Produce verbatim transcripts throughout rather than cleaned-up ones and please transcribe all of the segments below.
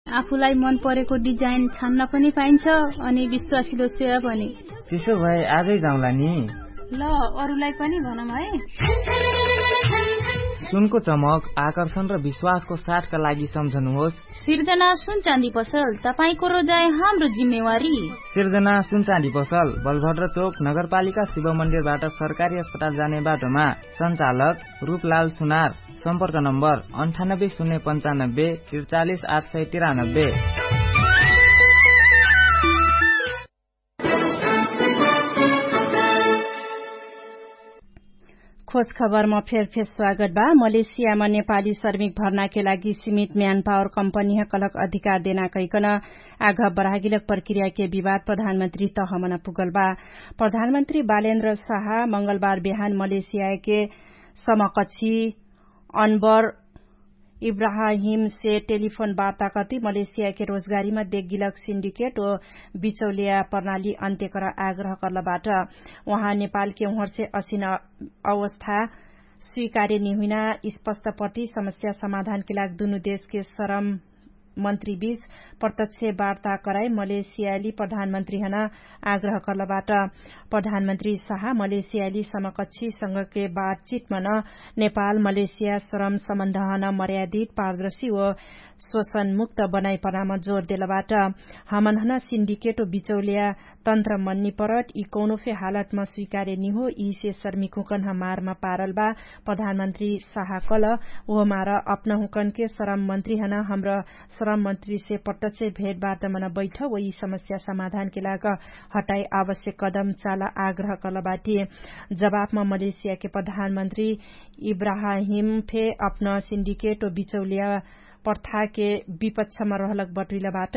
आफूलाई मन परेको डिजाइन छान्न पनि पाइन्छ, अनि विश्वासिलो सेवा पनि। त्यसो भए आजै जाउँला नि। ल, अरूलाई पनि भनौँ है। सुनको चमक, आकर्षण र विश्वासको साथका लागि सम्झनुहोस्। सिर्जना सुन चाँदी पसल, तपाईंको रोजाइ हाम्रो जिम्मेवारी। सिर्जना सुन चाँदी पसल, बलभद्र चोक, नगरपालिका शिव मन्दिरबाट सरकारी अस्पताल जाने बाटोमा। सञ्चालक रूपलाल सुनार। सम्पर्क नम्बर अन्ठानब्बे शून्य पन्चानब्बे त्रिचालिस आठ सय तिरानब्बे। खोज खबरमा फेरफेर स्वागत बा। मलेसियामा नेपाली श्रमिक भर्नाके लागि सीमित म्यानपावर कम्पनीह कलक अधिकार देना कैकन आघ बढागिलक प्रक्रियाके विवाद प्रधानमन्त्री तहमन पुगल बा। प्रधानमन्त्री बालेन्द्र साहा मंगलबार बिहान मलेसियाके समकक्षी अनबर इब्राहिमसे टेलिफोन वार्ताकति मलेसियाके रोजगारीमा देगिलक सिन्डिकेट ओ बिचौलिया प्रणाली अन्त्य कर आग्रह कर्लबाट। उहाँ नेपालके उहरसे असिन अवस्था स्वीकार्य निहुइना स्पष्टपति समस्या समाधानके लाग दुनु देशके श्रम मन्त्रीबीच प्रत्यक्ष वार्ता कराई मलेसियाली प्रधानमन्त्रीहन आग्रह कर्लबाट। प्रधानमन्त्री साहा मलेसियाली समकक्षीसँगके बातचितमन नेपाल मलेसिया श्रम सम्बन्धहन मर्यादित पारदर्शी ओ शोषणमुक्त बनाइपनाम जोर देलबाट। हमनहन सिन्डिकेट ओ बिचौलिया तन्त्र मन्निपरट यि कौनो फे हालतमा स्वीकार्य निहो यिसे शर्मिकुकन हमारमा पारल बा। प्रधानमन्त्री साहा कल ओहमार अपनहुकनके श्रम मन्त्रीहन हमर श्रम मन्त्रीसे प्रत्यक्ष भेटबार्तमन बैठ ओ यि समस्या समाधानके लाग हटाई आवश्यक कदम चाल आग्रह कलबाटी। जवाफमा मलेसियाके प्रधानमन्त्री इब्राहिम फे अपना सिन्डिकेट ओ बिचौलिया प्रथाके विपक्षमा रहलक बटुइलबाट।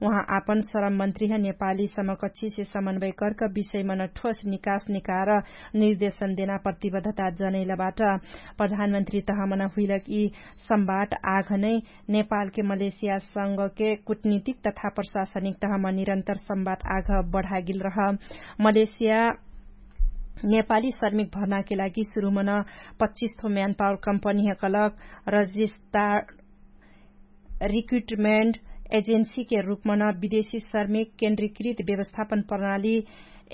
उहाँ आपन श्रम मन्त्रीह नेपाली समकक्षीसे समन्वय कर्क विषयमन ठोस निकास निकार निर्देशन देना प्रतिबद्धता जनैलबाट। प्रधानमन्त्री तहमन हुइलक यि सम्वाद आघ नै नेपालके मलेसियासँगके कुटनीतिक तथा प्रशासनिक तहम निरन्तर सम्वाद आघ बढागिल रह। मलेसिया नेपाली श्रमिक भर्नाके लागि सुरुमन पच्चिस थो म्यानपावर कम्पनीह कलक रजिस्ता रिक्रुटमेन्ट एजेन्सीके रूपमन विदेशी श्रमिक केन्द्रीकृत व्यवस्थापन प्रणाली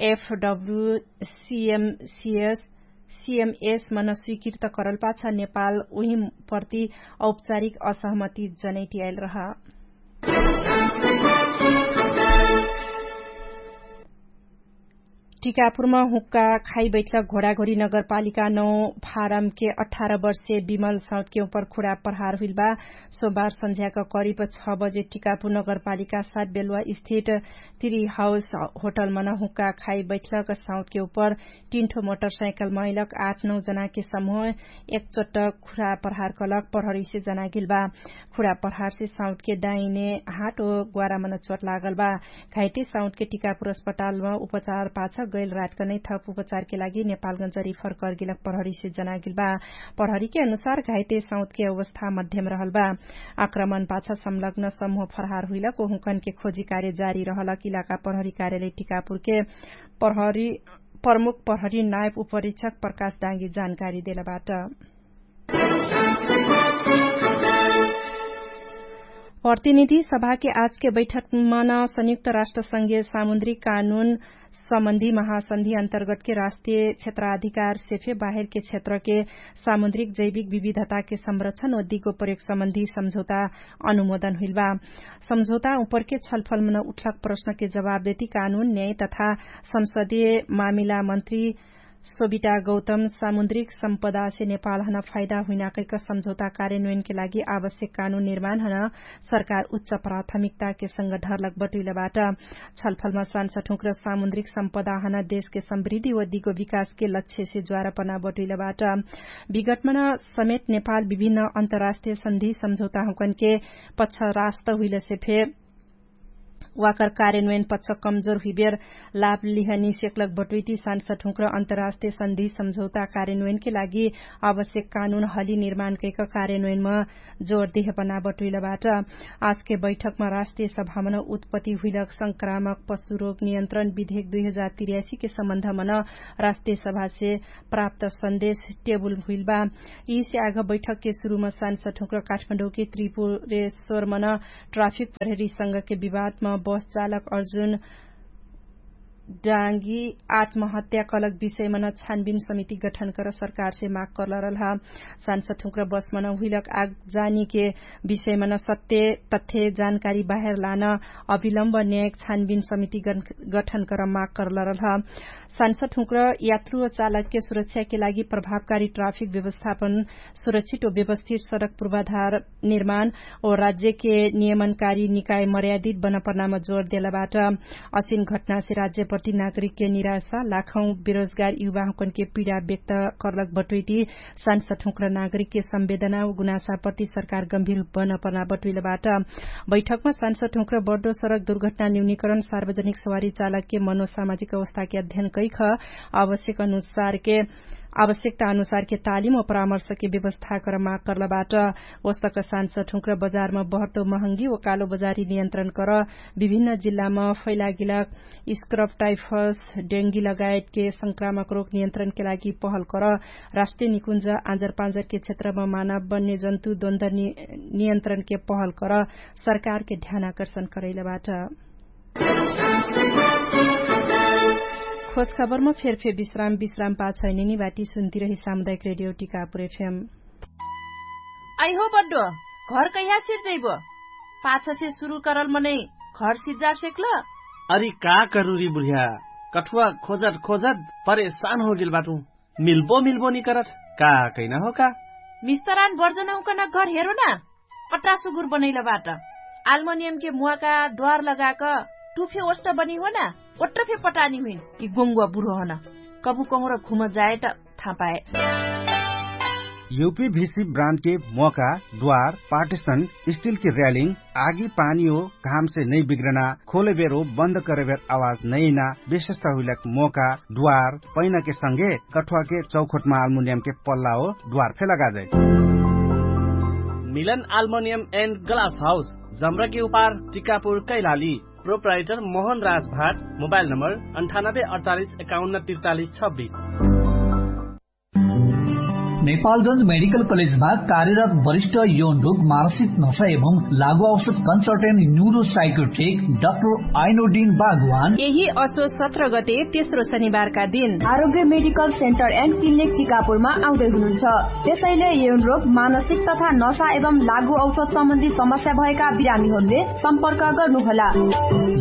एफडब्ल्यू सिएमसिएस सिएमएसमन स्वीकृत करलपाछ नेपाल उहिम प्रति औपचारिक असहमति जनैटियाइल रह। टिकापुरमा हुक्का खाइ बैठलक घोडाघोडी नगरपालिका नौ फारमके अठार वर्षे विमल सौतके उपर खुडा प्रहार हुइल बा। सोमबार सन्झ्याक करिब छ बजे टिकापुर नगरपालिका सात बेलुवा स्थित तिरी हाउस होटलमन हुक्का खाइ बैठलक सौतके उपर तीन ठो मोटरसाइकल मैलक आठ नौ जनाके समूह एकचोट खुरा प्रहार कलक प्रहरीसे जनागिल बा। खुरा प्रहारसे साउटके डाइने हाट ओ ग्वारामन चोट लागल बा। घाइटे साउटके टिकापुर अस्पतालमा उपचार पाछ गैल रातकनै थप उपचारके लागि नेपालगञ्ज रिफर कर्गिलक प्रहरीसे जनागिल बा। प्रहरीके अनुसार घाइटे साउटके अवस्था मध्यम रहल बा। आक्रमण पाछ संलग्न समूह फरहार हुइलक ओहुँकनके खोजी कार्य जारी रहलक इलाका प्रहरी कार्यालय टिकापुरके प्रहरी प्रमुख प्रहरी नायब उपरीक्षक प्रकाश डाँगी जानकारी देलबाट। प्रतिनिधि सभाके आजके बैठकमन संयुक्त राष्ट्र संघीय सामुद्रिक कानुन सम्बन्धी महासन्धि अन्तर्गतके राष्ट्रिय क्षेत्राधिकारसे फे बाहेरके क्षेत्रके सामुद्रिक जैविक विविधताके संरक्षण ओ दिगो प्रयोग सम्बन्धी सम्झौता अनुमोदन हुइल बा। सम्झौता उपरके छलफलमन उठलक प्रश्नके जवाब देती कानुन न्याय तथा संसदीय मामिला मन्त्री सोबिटा गौतम सामुद्रिक सम्पदासे नेपालहन फाइदा हुइनाकैक सम्झौता कार्यान्वयनके लागि आवश्यक कानुन निर्माणहन सरकार उच्च प्राथमिकताके संग ढर्लक बटुइलबाट। छलफलमा सानसठुँक र सामुद्रिक सम्पदाहन देशके समृद्धि व दिगो विकासके लक्ष्यसे ज्वारपना बटुइलबाट। विगतमन समेत नेपाल विभिन्न अन्तर्राष्ट्रिय सन्धि सम्झौताहुँकनके पक्ष रास्त हुइलसे फे वाकर कार्यन्वयन पक्ष कमजोर हुइबेर लाभ लिहनी सेक्लक बटुइटी सान्सठुँक्र अन्तर्राष्ट्रिय सन्धि सम्झौता कार्यन्वयनके लागि आवश्यक कानुन हली निर्माण कैक कार्यन्वयनम जोर देहपना बटुइलबाट। आजके बैठकम राष्ट्रिय सभामन उत्पत्ति हुइलक संक्रामक पशुरोग नियन्त्रण विधेक दुई हजार तिर्यासीके सम्बन्धमन राष्ट्रिय सभासे प्राप्त सन्देश टेबुल हुइलबा। यिसे आघ बैठकके सुरुम सान्सठुँक्र काठमाडौँके त्रिपुरेश्वरमन ट्राफिक प्रहरीसँगके विवादम बस चालक अर्जुन डाँगी आत्महत्या कलक विषयमन छानबिन समिति गठन कर सरकारसे माग करलरलह। सान्सठुँक्र बसमन हुइलक आग जानीके विषयमन सत्य तथ्य जानकारी बाहेर लान अभिलम्ब न्यायक छानबिन समिति गठन कर माग करलरलह। सान्सठुँक्र यात्रु चालकके सुरक्षाके लागि प्रभावकारी ट्राफिक व्यवस्थापन सुरक्षित व व्यवस्थित सडक पूर्वाधार निर्माण व राज्यके नियमनकारी निकाय मर्यादित बनपर्नाम जोर देलबाट। असिन घटनासे राज्यप्रति नागरिकके निराशा लाखौँ बेरोजगार युवाहुँकनके पीडा व्यक्त करलक बटुइटी सान्सठुँक्र नागरिकके संवेदना व गुनासाप्रति सरकार गम्भीर बनपर्ना बटुइलबाट। बैठकमा सान्सठुँक्र बड्डो सडक दुर्घटना न्यूनीकरण सार्वजनिक सवारी चालकके मनोसामाजिक अवस्थाके अध्ययन कैख आवश्यक अनुसारके आवश्यकता अनुसारके तालिम व परामर्शके व्यवस्था कर माग करलबाट। वस्तक सान्सठुँक्र बजारमा बहटो महँगी व कालो बजारी नियन्त्रण कर विभिन्न जिल्लामा फैलागिलक स्क्रब टाइफस डेङ्गी लगायतके संक्रामक रोग नियन्त्रणके लागि पहल कर राष्ट्रिय निकुञ्ज आँजरपाँजरके क्षेत्रमा मानव वन्यजन्तु द्वन्द नियन्त्रणके पहल कर सरकारके ध्यान आकर्षण करैलबाट। खोजखबरमा फेरफे विश्राम विश्राम पाछैनिनी बाटी सुन्तिरही सामुदायिक रेडियो टिकापुर एफएम। आइहो बड्डो, घर कैहा सिर्जैबो? पाछसे सुरु करल मनै घर सिर्जा सेक्ल? अरि का करुरी बुढिया, कठुवा खोजत खोजत परेशान होगेल बाटु। मिल्बो मिल्बो निकरत का कैना हो का? मिस्तरान बर्जनहुँकन घर हेरो ना। पट्टा सुगुर बनैलबाट आल्मोनियमके मुवाका द्वार लगाक टुफे ओष्ट बनी हो ना। ओट्रफे पटानी हुइन कि गोङ्गुवा बुढो हन। कबु कहुँर घुम जाए त थापाए। युपी भिसी ब्रान्डके मोका द्वार पार्टिसन स्टिलके र्यालिङ आगी पानी हो घामसे नै बिग्रना खोलेबेर हो बन्द करेबेर आवाज नैना विशेषता हुइलक मोका द्वार पैनाके संगे कठुवाके चौखोटमा आल्मुनियमके पल्ला हो द्वार फे लगाजै। मिलन आल्मोनियम एन्ड ग्लास हाउस जम्रकी उपार टिकापुर कैलाली। प्रोप्राइटर मोहन राज भाट। मोबाइल नम्बर अन्ठानब्बे अडचालिस एकाउन्न तिरचालिस छब्बिस। नेपालगंज मेडिकल कलेजमा कार्यरत वरिष्ठ यौन रोग मानसिक नशा एवं लागु औषध कन्सल्टेन्ट न्युरो साइकोट्रिक डाक्टर आइनोडिन बागवान यही असो सत्र गते तेस्रो शनिबारका दिन आरोग्य मेडिकल सेन्टर एन्ड क्लिनिक टिकापुरमा आउँदै हुनुहुन्छ। त्यसैले यौन रोग मानसिक तथा नशा एवं लागु औषध सम्बन्धी समस्या भएका बिरामीहरूले सम्पर्क गर्नुहोला।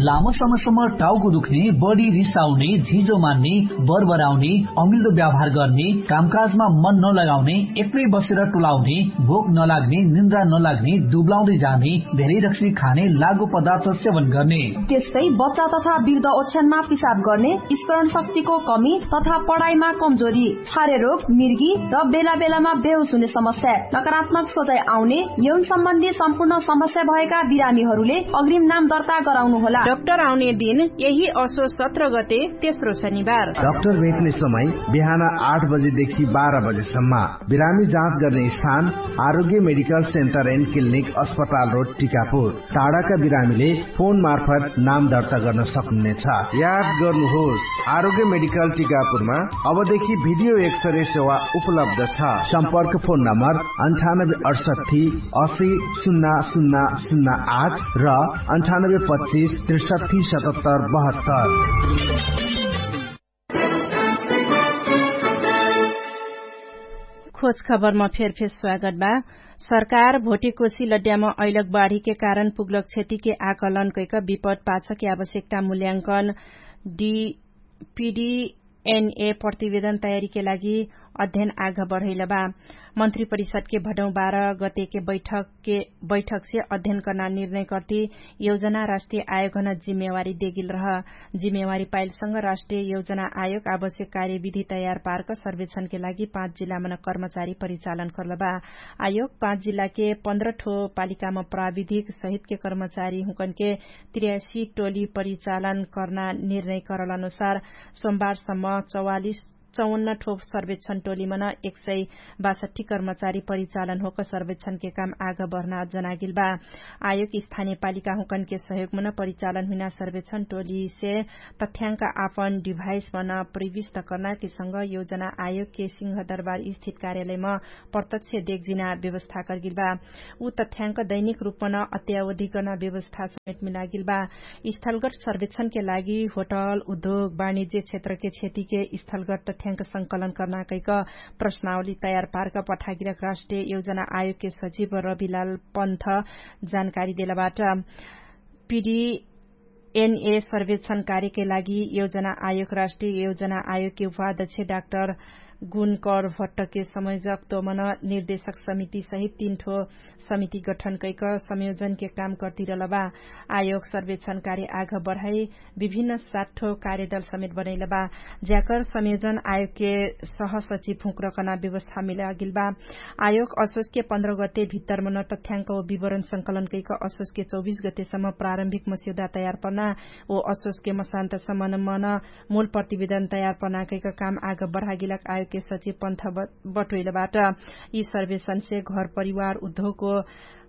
लामो समयसम्म टाउको दुख्ने, बढी रिसाउने, झिजो मान्ने, बरबराउने, अमिल्दो व्यवहार गर्ने, कामकाजमा मन नलगाउने, एक्लै बसेर टुलाउने, भोक नलाग्ने, निन्द्रा नलाग्ने, दुब्लाउँदै जाने, धेरै रक्सी खाने, लागु पदार्थ सेवन गर्ने। त्यस्तै बच्चा तथा वृद्ध ओछ्यानमा पिसाब गर्ने, स्मरण शक्तिको कमी तथा पढाइमा कमजोरी, छारे रोग, मिर्गी र बेला बेलामा बेहोस हुने समस्या, नकारात्मक सोचाइ आउने, यौन सम्बन्धी सम्पूर्ण समस्या भएका बिरामीहरूले अग्रिम नाम दर्ता गराउनु होला। डाक्टर आउने दिन यही असो सत्र गते तेस्रो शनिबार। डाक्टर भेट्ने समय बिहान आठ बजेदेखि बाह्र बजेसम्म। बिरामी जाँच गर्ने स्थान आरोग्य मेडिकल सेन्टर एन्ड क्लिनिक अस्पताल रोड टिकापुर। टाढाका बिरामीले फोन मार्फत नाम दर्ता गर्न सक्नुहुनेछ। याद गर्नुहोस्, आरोग्य मेडिकल टिकापुरमा अबदेखि भिडियो एक्सरे सेवा उपलब्ध छ। सम्पर्क फोन नम्बर अन्ठानब्बे अडसट्ठी असी सुन्ना सुन्ना सुन्ना आठ र अन्ठानब्बे पच्चिस त्रिसट्ठी सतहत्तर बहत्तर। खोज खबरमा फेरफेर स्वागत बा। सरकार भोटेकोसी लड्यामा अइलक बाढीके कारण पुग्लक क्षतिके आकलन कैक विपद पाछके आवश्यकता मूल्यांकन डि पिडिएनए प्रतिवेदन तयारीके लागि अध्ययन आघ बढैलबा। मन्त्री परिषदके भडौँ बाह्र गतेके बैठकसे अध्ययन कर्ना निर्णय कर्ति यौजना राष्ट्रिय आयोगन जिम्मेवारी देगिल रह। जिम्मेवारी पाइलसँग राष्ट्रिय यौजना आयोग आवश्यक कार्यविधि तयार पार्क सर्वेक्षणके लागि पाँच जिल्लामन कर्मचारी परिचालन कर्लबा। आयोग पाँच जिल्लाके पन्ध्र ठो पालिकाम प्राविधिक सहितके कर्मचारी हुँकनके त्रियासी टोली परिचालन कर्ना निर्णय करल अनुसार सोमबारसम्म चौवालिस चौवन्न ठो सर्वेक्षण टोलीमन एक सय बासठी कर्मचारी परिचालन होक सर्वेक्षणके काम आघ बढ्ना जनागिल बा। आयोग स्थानीय पालिका हुँकनके सहयोगमन परिचालन हुइना सर्वेक्षण टोलीसे तथ्याङ्क आपन डिभाइसमन प्रविष्ट कर्नाके संग यौजना आयोगके सिंहदरबार स्थित कार्यालयम प्रत्यक्ष देखजिना व्यवस्था कर्गिल बा। उ तथ्याङ्क दैनिक रूपमन अत्यावधिकन व्यवस्था समेटमे लागिल बा। स्थलगट सर्वेक्षणके लागि होटल उद्योग वाणिज्य क्षेत्रके क्षतिके स्थलगट तथ्याङ्क संकलन कर्ना कैक प्रश्नावली तयार पार्क पठागिरक राष्ट्रिय यौजना आयोगके सचिव रविलाल पन्थ जानकारी देलबाट। पिडी एनए सर्वेक्षण कार्यके लागि यौजना आयोग राष्ट्रिय यौजना आयोगके उपाध्यक्ष डाक्टर गुणकर भट्टके समयोजकत्वमन निर्देशक समिति सहित तीन ठो समिति गठन कैक संयोजनके काम कर्तिरलबा। आयोग सर्वेक्षण कार्य आघ बढाइ विभिन्न सात ठो कार्यदल समेत बनैलबा। ज्याकर संयोजन आयोगके सहसचिव हुँक्रकना व्यवस्था मिलागिलबा। आयोग असोसके पन्ध्र गते भित्तरमन तथ्याङ्क व विवरण संकलन कैक असोसके चौबिस गतेसम्म प्रारम्भिक मस्यौदा तयार पर्ना व असोसके मसान्तसम्मनमन मूल प्रतिवेदन तयार पर्ना कैक काम आग बढागिलक आयोगके सचिव पन्थ बटोइलबाट। यि सर्वेक्षणसे घर परिवार उद्योगको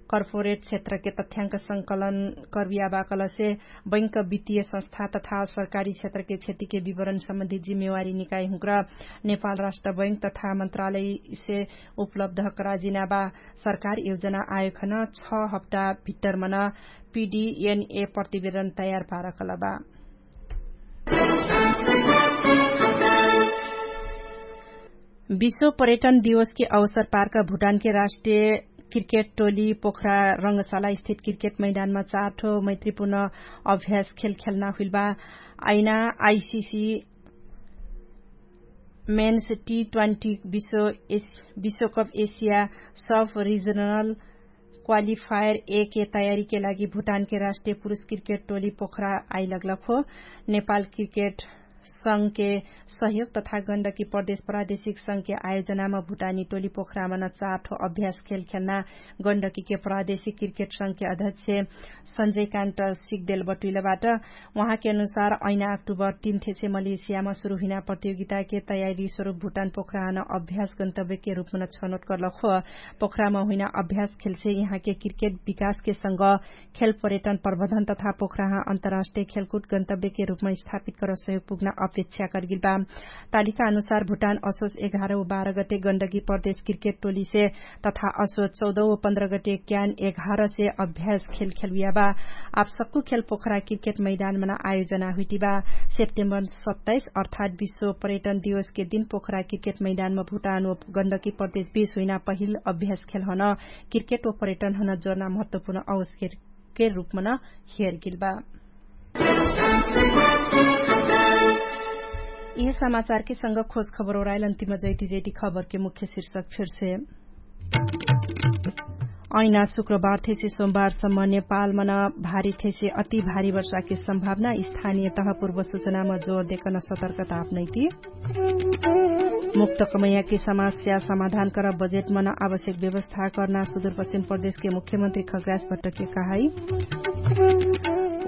कर्पोरेट क्षेत्रके तथ्याङ्क संकलन कर्वियाबाकलसे बैंक वित्तीय संस्था तथा सरकारी क्षेत्रके क्षतिके विवरण सम्बन्धी जिम्मेवारी निकाइ हुँक्र नेपाल राष्ट्र बैंक तथा मन्त्रालयसे उपलब्ध कराजिनाबा। सरकार यौजना आयोखन छ हप्ता भित्तरमन पिडिएनए प्रतिवेदन तयार पारकलबा। विश्व पर्यटन दिवसके अवसर पार्क भुटानके राष्ट्रिय क्रिकेट टोली पोखरा रङ्गशाला स्थित क्रिकेट मैदानमा चार ठो मैत्रीपूर्ण अभ्यास खेल खेल्ना हुइलबा। ऐना आइसिसी मेन्स टी ट्वेन्टी विश्वकप एसिया सब रिजनल क्वालिफायर एके तयारीके लागि भुटानके राष्ट्रिय पुरुष क्रिकेट टोली पोखरा आइलग्लक हो। नेपाल क्रिकेट संघके सहयोग तथा गण्डकी प्रदेश प्रादेशिक संघके आयोजनामा भुटानी टोली पोखरामा न चार ठो अभ्यास खेल खेल्ना गण्डकीके प्रादेशिक क्रिकेट संघके अध्यक्ष सञ्जयकान्त सिगदेल बटुइलबाट। उहाँके अनुसार ऐना अक्टुबर तीन थेसे मलेसियामा सुरु हुइना प्रतियोगिताके तयारी स्वरूप भुटान पोखराहन अभ्यास गन्तव्यके रूपमा न छनोट कर्लक हो। पोखरामा हुइना अभ्यास खेलसे यहाँके क्रिकेट विकासके संग खेल पर्यटन प्रबन्धन तथा पोखराहा अन्तर्राष्ट्रिय खेलकुट गन्तव्यके रूपमा स्थापित कर सहयोग पुग्ना अपेक्षा कर्गिलबा। तालिका अनुसार भुटान असोच एघार व बाह्र गते गण्डकी प्रदेश क्रिकेट टोलीसे तथा असोच चौध व पन्ध्र गते क्यान एघारसे अभ्यास खेल खेलुयाबा। आब सक्कु खेल पोखरा क्रिकेट मैदानमन आयोजना हुइटिबा। सेप्टेम्बर सत्ताइस अर्थात् विश्व पर्यटन दिवसके दिन पोखरा क्रिकेट मैदानमा भुटान व गण्डकी प्रदेश बीस हुइना पहिल अभ्यास खेलहन क्रिकेट व पर्यटनहन जोर्ना महत्वपूर्ण अवसरके रूपमन हेरगिलबा। यिहे समाचारके संग खोज खबर ओराइल अन्तिम जैति जैति खबरके मुख्य शीर्षक फिर्से। ऐना शुक्रबार थेसे सोमबारसम्म नेपालमन भारी थेसे अति भारी वर्षाके सम्भावना स्थानिय तह पूर्व सुचनामा जोर देकन सतर्कता अपनैति। मुक्त कमैयाके समास्या समाधान कर बजेटमन आवश्यक व्यवस्था कर्ना सुदूरपश्चिम प्रदेशके मुख्यमन्त्री खग्रास भट्टके कहाई।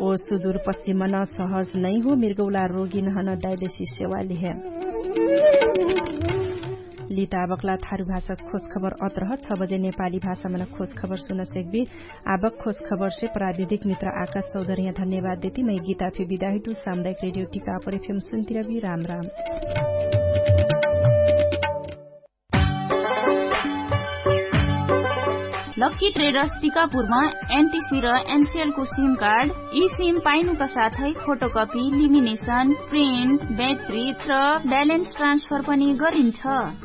ओ सुदूरपश्चिममन सहज नैहो मिर्गौला रोगिनहन डाइलेसिस सेवा लिहे। लिताबकला थारु भाषा खोज खबर अत्रह छ बजे नेपाली भाषामन खोज खबर सुन सेक्बी। आबक खोज खबरसे प्राविधिक मित्र आकाश चौधरिया धन्यवाद देती मै गीता फे बिदाहिटु सामुदायिक रेडियो टिका अपरे फेम सुन्तिरबी राम राम। लक्की ट्रेडर्स टिकापुरमा एनटिसी र एनसिएलको सिम कार्ड यी सिम पाइनुका साथै फोटोकपी लिमिनेसन प्रिन्ट ब्याट्री र ब्यालेन्स ट्रान्सफर पनि गरिन्छ।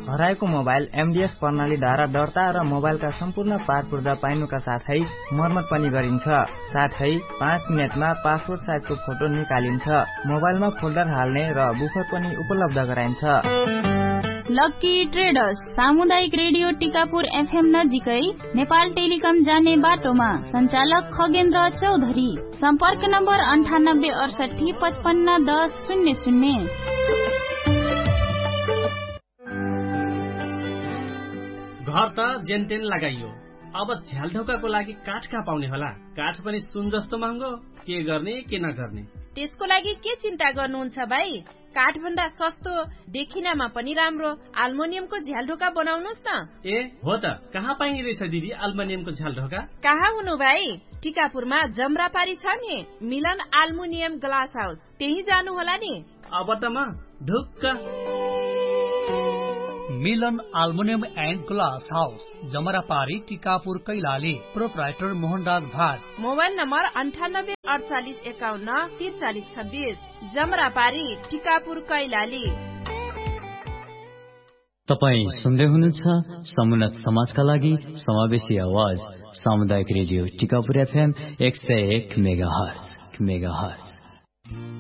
हराएको मोबाइल एमडिएस प्रणालीद्वारा दर्ता र मोबाइलका सम्पूर्ण पारपुर्दा पाइनुका साथै मर्मत पनि गरिन्छ। साथै पाँच मिनेटमा पासपोर्ट साइजको फोटो निकालिन्छ। मोबाइलमा फोल्डर हाल्ने र बुफर पनि उपलब्ध गराइन्छ। लक्की ट्रेडर्स सामुदायिक रेडियो टिकापुर एफएम नजिकै नेपाल टेलिकम जाने बाटोमा सञ्चालक खगेन्द्र चौधरी। सम्पर्क नम्बर अन्ठानब्बे अठसट्ठी पचपन्न दस शून्य शून्य। घर त जेनतेन लगाइयो, अब झ्यालढोकाको लागि काठ कहाँ पाउने होला? काठ पनि सुन जस्तो महँगो। के गर्ने के नगर्ने? त्यसको लागि के चिन्ता गर्नुहुन्छ भाइ? काठभन्दा सस्तो, देखिनामा पनि राम्रो आल्मोनियमको झ्यालढोका बनाउनुस् न। ए हो त, कहाँ पाइने रहेछ दिदी आल्मोनियमको झ्यालढोका? कहाँ हुनु भाइ? टिकापुरमा जमरापारी छ नि, मिलन आल्मुनियम ग्लास हाउस, त्यही जानु होला नि। अब त म ढुक्क। मिलन आल्मुनियम एन्ड ग्लास हाउस, जमरापारी, टिकापुर, कैलाली। प्रोपराइटर मोहनराज भाट। मोबाइल नम्बर अन्ठानब्बे अठचालिस एकाउन्न तिरचालिस छब्बिस। जमरापारी, टिकापुर, कैलाली। तपाईँ सुन्दै हुनुहुन्छ समुन्नत समाजका लागि समावेशी आवाज, सामुदायिक रेडियो टिकापुर एफएम एक सय एक मेगाहर्ज।